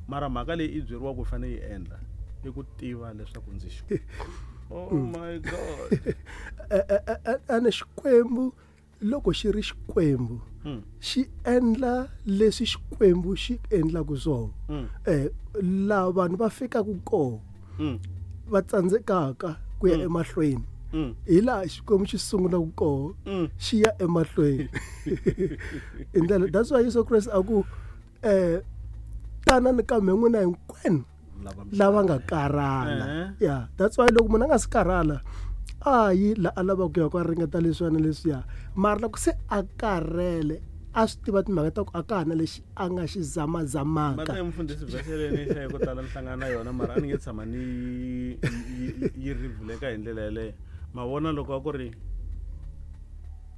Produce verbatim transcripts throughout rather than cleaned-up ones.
Mara mhaka leyi i byeriwaka u fanele yi endla i ku tiva leswaku ndzi xi Oh my God. Ene Xikwembu loko xi ri Xikwembu xi endla leswi Xikwembu xi endlaka swona. Eh la vanhu va fikaka kona va tsandzekaka ku ya emahlweni. Hi laha Xikwembu xi sungulaka kona xi ya emahlweni. Hi ndlela that's why Yesu Kreste a ku eh tanani ka mina n'wina hinkwenu lava nga karhala. Yeah, that's why loko munhu a nga si karhala a yi la a lava ku ya ku a ringeta leswiya na leswiya, mara loko se a karhele a swi tiva timhaka ta ku a ka ha na lexi a nga xi zamazamaka. Mata mfundhisi vhese leyi ni hlaye ko tala ni hlangana na yona, mara a ni nge tshama ni yi rivuleka hi ndlela yeleyo. Ma vona loko a ku ri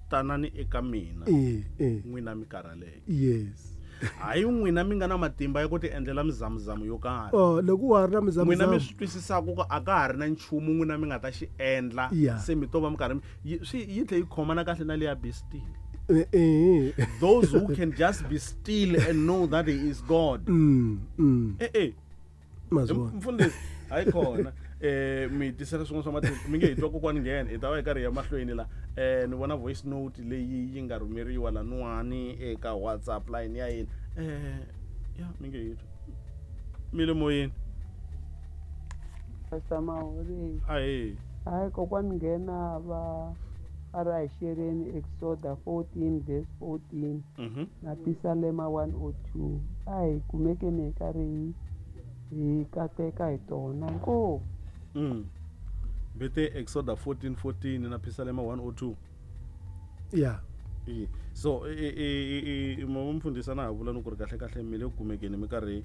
tanani eka mina n'wina mi karhaleke. Yes. Hayi n'wina mi nga na matimba ya ku ti endlela mizamuzamo yo karhi. Oh, loko wa ha ri na mizamuzamo. N'wina mi swi twisisaka ku a ka ha ri na nchumu n'wina mi nga ta xi endla. Se mi to va mi karhi swi yi tlhe yi khomana kahle na leya be still. Those who can just be still and know that he is God. Mm, mm. Eh eh. Mfundhisi, hayi khona. Eh mi tisela swin'wana swa matimba mi nge hi twa kokwani nghena hi ta va hi karhi hi ya mahlweni la. Eh ni vona voice note leyi yi nga rhumeriwa lanuwani eka WhatsApp line ya yena. Eh ya mi nge hi twa. Mi le moyeni. Pastor Mahori. Ahe. Hayi kokwani nghena va a ra hi xereni Exoda fourteen verse fourteen. Mhm. Na Pisalema one oh two. A hi kumekeni hi karhi hi kateka hi tona. Inkomu. Mm. Bete Exoda fourteen fourteen na Pisalema one oh two. Yeah. E. So e e e mo mfundhisi na ha vula ni ku ri kahle kahle mi le kumekeni mi karhi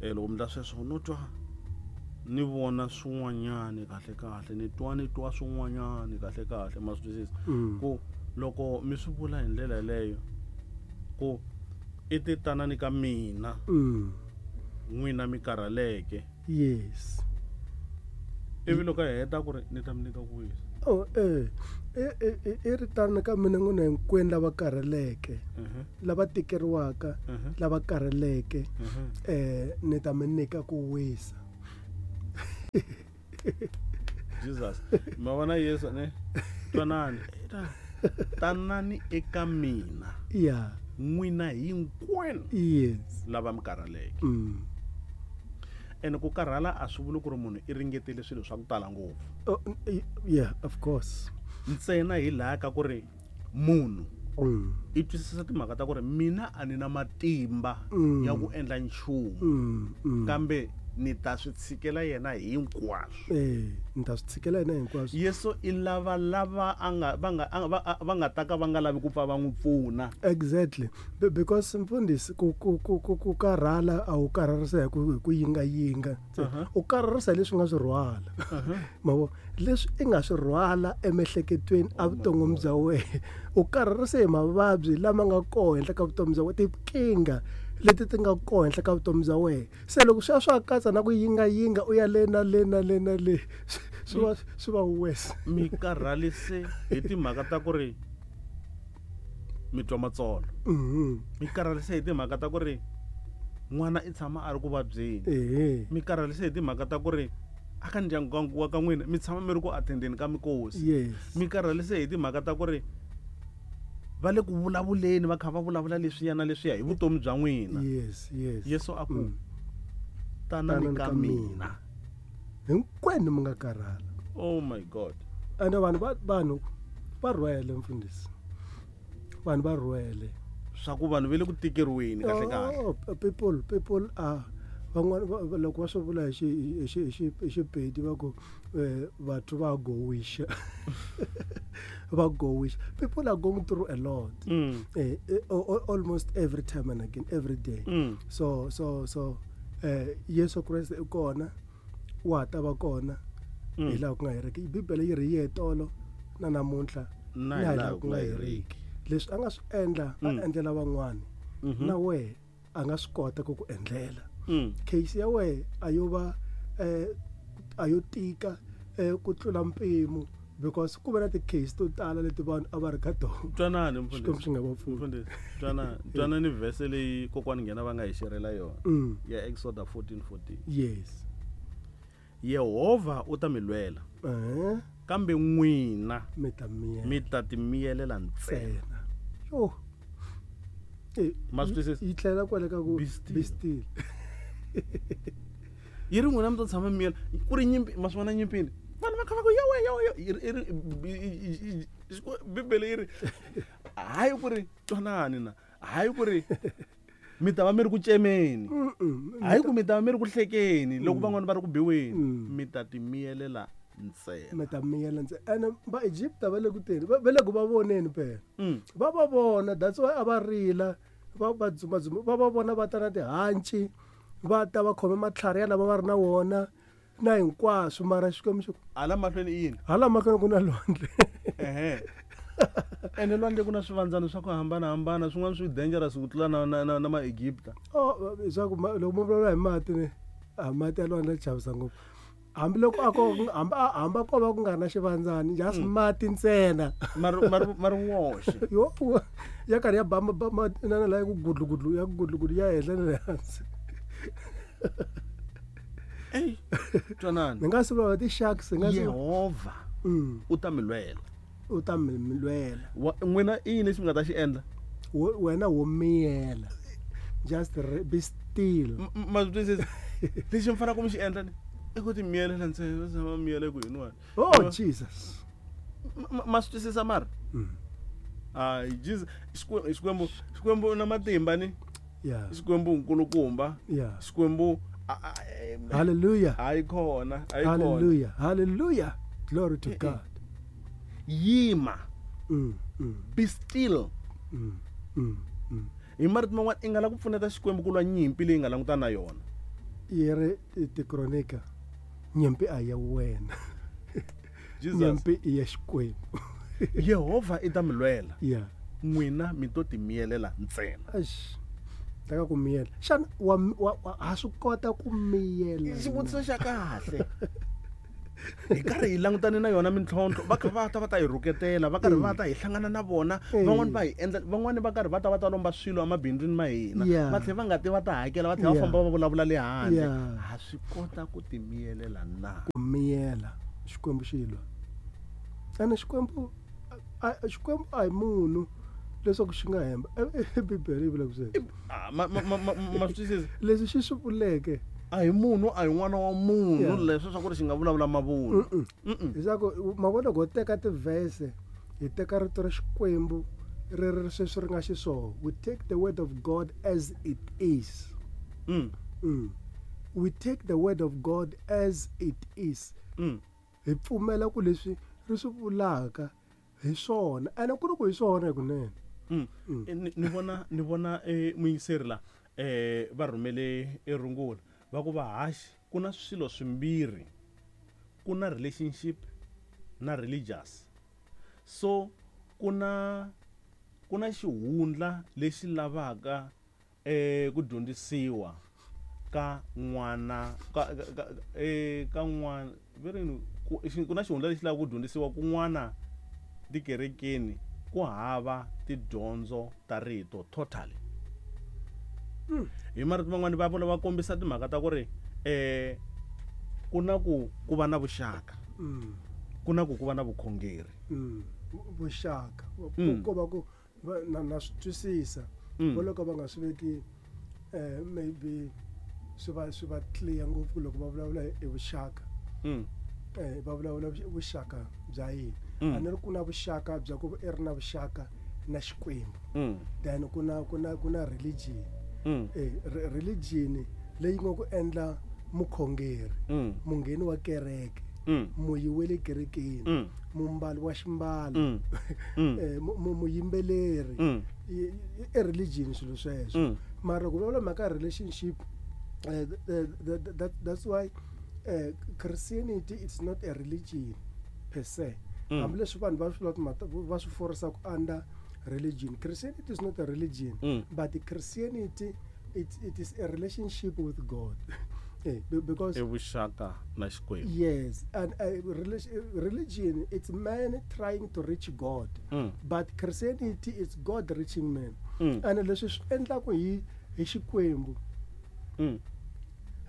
eh loko mi ndla sweswo no twa ni vona swin'wanyani kahle kahle ni twa ni twa swin'wanyani kahle kahle ma swi twisisa. Ku loko mi swi vula hi ndlela yeleyo ku i ti tanani ka mina n'wina mi karhaleke. Yes. Ivi loko a heta ku ri ni ta mi nyika ku wisa. Oh eh e e ri tana ka mina n'wina hinkwenu lava karhaleke, lava tikeriwaka, lava karhaleke, eh ni ta mi nyika ku wisa. Jesus, ma vona Yesu ne twanani tanani eka mina. Yeah. N'wina hinkwenu. Yes. Lava mi karhaleke. Mm. Ene ku karhala a swi vuli ku ri munhu i ringetile swilo swa ku tala ngopfu. Oh, yeah, of course. Ntsena hi laha ka ku ri munhu mm. i twisisa timhaka ta ku ri mina a ni na matimba mm. ya ku endla nchumu. Mm, mm. Kambe ni ta swi tshikela yena hinkwaswo. Eh, ni ta swi tshikela yena hinkwaswo. Yesu i lava lava a nga va nga va nga ta ka va nga lavi ku pfa va n'wi pfuna. Exactly. Because mfundhisi ku ku ku ku ku karhala a wu karharisa hi ku hi ku yinga yinga. U karharisa leswi nga swi rhwala. Mavo leswi i nga swi rhwala emiehleketweni a vuton'wini bya wena. U karharisa hi mavabyi lama nga kona henhla ka vutomi bya wena, tinkingha leti ti nga kona henhla ka vutomi bya wena. Se loko swi ya swa katsa na ku yinga yinga u ya le na le na le na le swi va swi va worse. Mi karhalise hi timhaka ta ku ri mi twa matsolo. Mi karhalise hi timhaka ta ku ri n'wana i tshama a ri ku vabyeni. Mi karhalise hi timhaka ta ku ri aka ndyangu wa ka n'wina mi tshama mi ri ku attendeni ka mikosi. Yes. Mi karhalise hi timhaka ta ku ri va le ku vulavuleni va kha va vulavula leswiya na leswiya hi vutomi bya n'wina. Yes, yes. Yesu a ku tanani ka mina. Hinkwenu mi nga karhala. Oh my God. Ene vanhu va vanhu va rhwele mfundhisi. Vanhu va rhwele. Swa ku vanhu va le ku tikeriweni kahle kahle. Oh, people people are van'wana loko va swi vula hi xi hi xi hi Xipedi va ku batho va gowisha. Va gowisha. People are going through a lot. Mm. Eh, almost every time and again, every day. Mm. So so so eh Yesu Kreste i kona wa ta va kona hi laha ku nga heriki. Bibele yi ri ye tolo na namuntlha na hi laha ku nga heriki. Leswi a nga swi endla a endlela van'wana na wehe a nga swi kota ku ku endlela. Case ya wehe a yo va eh a yo tika eh ku tlula mpimo Because ku va na ti-case to tala leti vanhu a va ri ka tona. Twanani Xikwembu mfundhisi. xi nga va pfuni. Mfundhisi, twanani, twanani verse leyi kokwani nghena va nga hi xerhela yona. Mm. Ya Exodus fourteen fourteen. Yes. Yehovha u ta mi lwela. Eh, Kambe n'wina mi ta miyela. mi ta timiyelela ntsena. Ntsena. Yo. Eh, Ma swi twisisa? yi tlhela kwale ka ku Be still. be still. Yi ri n'wina mi ta tshama mi miyela ku ri nyimpi, ma swi vona nyimpini. Vanhu va kha va ku yowe yowe yo. Yi ri i ri Bibele yi ri hayi ku ri twanani na, hayi ku ri mi ta va mi ri ku cemeni. Hayi ku mi ta va mi ri ku hlekeni loko van'wani va ri ku biweni, mi ta timiyelela ntsena. Mi ta miyela ntsena. Ene va Egypta va le ku teni, va le ku va voneni phela. Mm. Va va vona, that's why a va rila, va va dzumadzuma, va va vona va ta na tihanci, va ta va khome matlhari ya lava va ri na wona na hinkwaswo, mara Xikwembu xi ku Hala mahlweni i yini? hala mahlweni ku na lwandle. Ehe. Ene lwandle ku na swivandzana swa ku hambanahambana, swin'wana swi dangerous ku tlula na na na, na ma-Egypta. Oh, leswaku loko mo vulavula hi mati ni, a mati ya lwandle ya chavisa ngopfu. Hambiloko a ko hambi hambi a ko va ku nga ri na xivandzani, just mati ntsena. Ma ri ma ri ma ri woxe. Yo, ya karhi ya ba ba ma na la ya ku gudlu gudlu ya ku gudlu gudlu ya henhla na le hansi. Ey, twanani. Ni nga swi vulavula ti-sharks, ni nga swi Yehovha Mm. u ta mi lwela. U ta mi lwela. N'wina i yini lexi mi nga ta xi endla? Wena wo miyela. Just be still. Ma swi twisisa? Lexi mi faneleke mi xi endla ni i ku ti miyelela ntsena, va tshama miyela ku yini wena. Oh Jesus. Ma swi twisisa mara? Hayi Jesus, Xikwembu Xikwembu na matimba ni. Yeah. Xikwembu nkulukumba. Yeah. Xikwembu Hallelujah. Hayi khona, hayi khona. Hallelujah. Hallelujah. Glory to God. Yima. Mm, mm. Be still. Mm, mm, mm. Hi marito man'wana i nga la ku pfuneta Xikwembu ku lwa nyimpi leyi nga langutana na yona. Yi ri Tikronika, nyimpi a ya wena. Jesus. Nyimpi i ya Xikwembu. Yehovha i ta mi lwela. Yeah. N'wina mi to timiyelela ntsena. Eish. Taka ku miyela. Xana wa wa ha swi kota ku miyela? Xivutiso xa kahle. Hi karhi hi langutane na yona mintlhontlho, va kha va ta va ta hi rhuketela, va karhi va ta hi hlangana na vona, van'wani va hi endla, van'wani va karhi va ta va ta lomba swilo emabindzwini ma hina, va tlhela va nga ti va ta hakela, va tlhela va famba va vulavula le handle. Ha swi kota ku timiyelela na? Ku miyela Xikwembu xi lwa. Ene Xikwembu Xikwembu a hi munhu leswaku xi nga hemba. Bibele yi vula ku sweswo. Ma ma ma swi twisisa? Leswi xi swi vuleke a hi munhu, a hi n'wana wa munhu leswi swa ku ri xi nga vulavula mavunwa. Leswaku ma vona loko ho teka tivhese, hi teka rito ra Xikwembu ri ri sweswi ri nga xiswona. We take the word of God as it is. Mm. Mm. We take the word of God as it is. Mm. Hi pfumela ku leswi ri swi vulaka hi swona. Ene ku ri ku hi swona hikunene. Mm. Ni vona ni vona eh muyingiseri la eh va rhumele erungula. Va ku va haxi ku na swilo swimbirhi, ku na relationship na religious. So ku na ku na xihundla lexi lavaka eh ku dyondzisiwa ka n'wana ka eh ka n'wana verini ku na xihundla lexi lavaka ku dyondzisiwa kun'wana tikerekeni ku hava tidyondzo ta rito totally. Hi marito man'wani va vula va kombisa timhaka ta ku ri eh ku na ku ku va na vuxaka, ku na ku ku va na vukhongeri. Vuxaka ko va ku na na swi twisisa vo loko va nga swi veki eh maybe swi va swi va clear ngopfu loko va vulavula hi vuxaka. Eh va vulavula vuxaka bya yini? A ni ri ku na vuxaka bya ku i ri na vuxaka na Xikwembu. Then ku na ku na ku na religion. Mm. Eh, religion leyi nga ku endla mukhongeri, mm. mungheni wa kereke, mm. muyi wa le kerekeni, mm. mumbali wa ximbalo, mm. mm. eh, muyimbeleri, mm. i religion swilo sweswo. Mm. Mara ku vulavula mhaka ya relationship, eh, that, that, that's why eh, Christianity it's not a religion per se. Mm. Hambileswi vanhu va swi va swi forisaka under religion. Christianity is not a religion, mm. but Christianity it, it is a relationship with God. Eh, because I vuxaka na Xikwembu. Yes, and uh, religion, it's man trying to reach God. Mm. But Christianity is God reaching man. Mm. And leswi swi endlaku hi hi Xikwembu. Mm.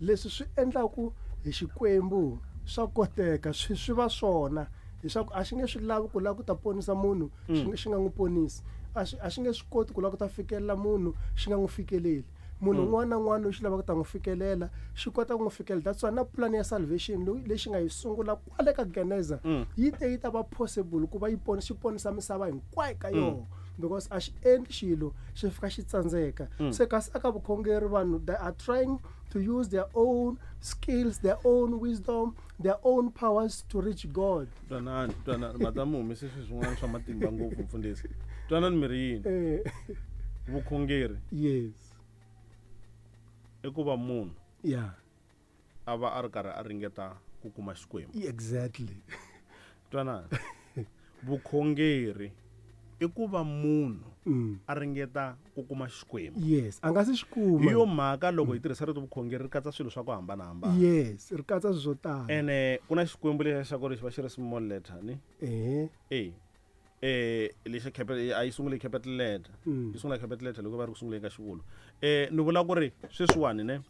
Leswi swi endlaku hi Xikwembu swa koteka, swi swi va swona. Leswaku a xi nge swi lavi ku lava ku ta ponisa munhu, xi Mm. xi nga n'wi ponisi. A xi a xi nge swi koti ku lava ku ta fikelela munhu, xi nga n'wi fikeleli. Munhu Mm. un'wana na un'wana loyi xi lavaka ku ta n'wi fikelela, xi kota ku n'wi fikelela. That's why na plan ya salvation leyi lexi nga yi sungula kwale ka Geneza, Mm. yi te yi ta va possible ku va yi ponisa, xi ponisa misava hinkwayo ka Mm. yona. Because a xi endli xilo xi fika xi tsandzeka. Mm. Se kasi aka vukhongeri vanhu they are trying to use their own skills, their own wisdom, their own powers to reach God. Twanani, twanani, madamu humise swilo swin'wana swa matimba ngopfu mfundhisi. Twanani mi ri yini? Eh. Vukhongeri. Yes. I ku va munhu Yeah. a va a ri karhi a ringeta ku kuma Xikwembu. Exactly. Twanani. Vukhongeri i ku va munhu Mm. a ringeta ku kuma Xikwembu. Yes, a nga si xi kuma. Hi yo mhaka loko hi tirhisa rito vukhongeri ri katsa swilo swa ku hambanahambana. Yes, ri katsa swilo swo tala. Ene ku na Xikwembu lexiya xa ku ri xi va xi ri small letter ni? Eh. Eh. Eh, lexa capital a yi sungule capital letter. Mm. Yi sungula capital letter loko va ri ku sunguleni ka xivulwa. Eh, ni vula ku ri sweswiwani ne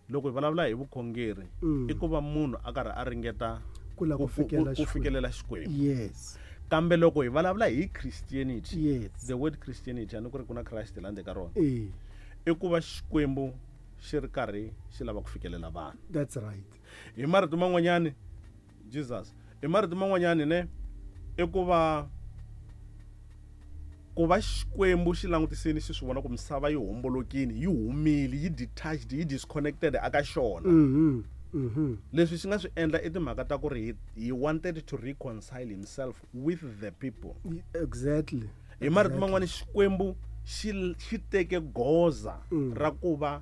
loko hi vulavula hi vukhongeri Mm. i ku va munhu a karhi a ringeta Ku lava ku ku, ku, fikelela ku Xikwembu. fikelela Xikwembu. Yes. Kambe loko hi vulavula hi Christianity, Yes. the word Christianity a ni ku ri ku na Christ la ndzeni ka rona. Eh. I ku va Xikwembu xi ri karhi xi lava ku fikelela vanhu. That's right. Hi marito man'wanyani Jesus, hi marito man'wanyani ne i ku va ku va Xikwembu xi langutisini xi swi vona ku misava yi hombolokile, yi humile, yi detached, yi disconnected aka xona. Mhm. Mhm. Leswi xi nga swi endla i timhaka ta ku ri he, he wanted to reconcile himself with the people. Exactly. Hi marito man'wani Xikwembu xi xi teke goza Mm. ra ku va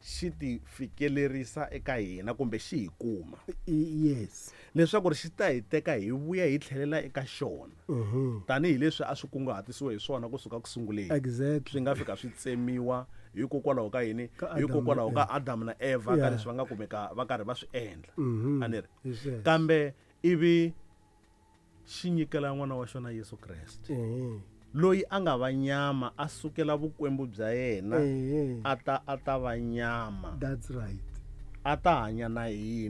xi ti fikelerisa eka hina kumbe xi hi kuma. Yes. Leswaku ri xi ta hi teka hi vuya hi tlhelela eka xona. Mhm. Tanihi leswi a swi kunguhatisiwe hi swona kusuka ku sunguleni. Exactly. Swi nga fika swi tsemiwa hikokwalaho ka yini? Ka Adam Hikokwalaho na ka Adam na Eva ka Yeah. leswi va nga kumeka va karhi va swi endla. Mhm. A ni ri? Hi sweswo. Kambe ivi xi nyikela n'wana wa xona Yesu Kreste. Eh. Loyi a nga va nyama a sukela vukwembu bya yena Eh. a ta a ta va nyama. That's right. A ta hanya na hina.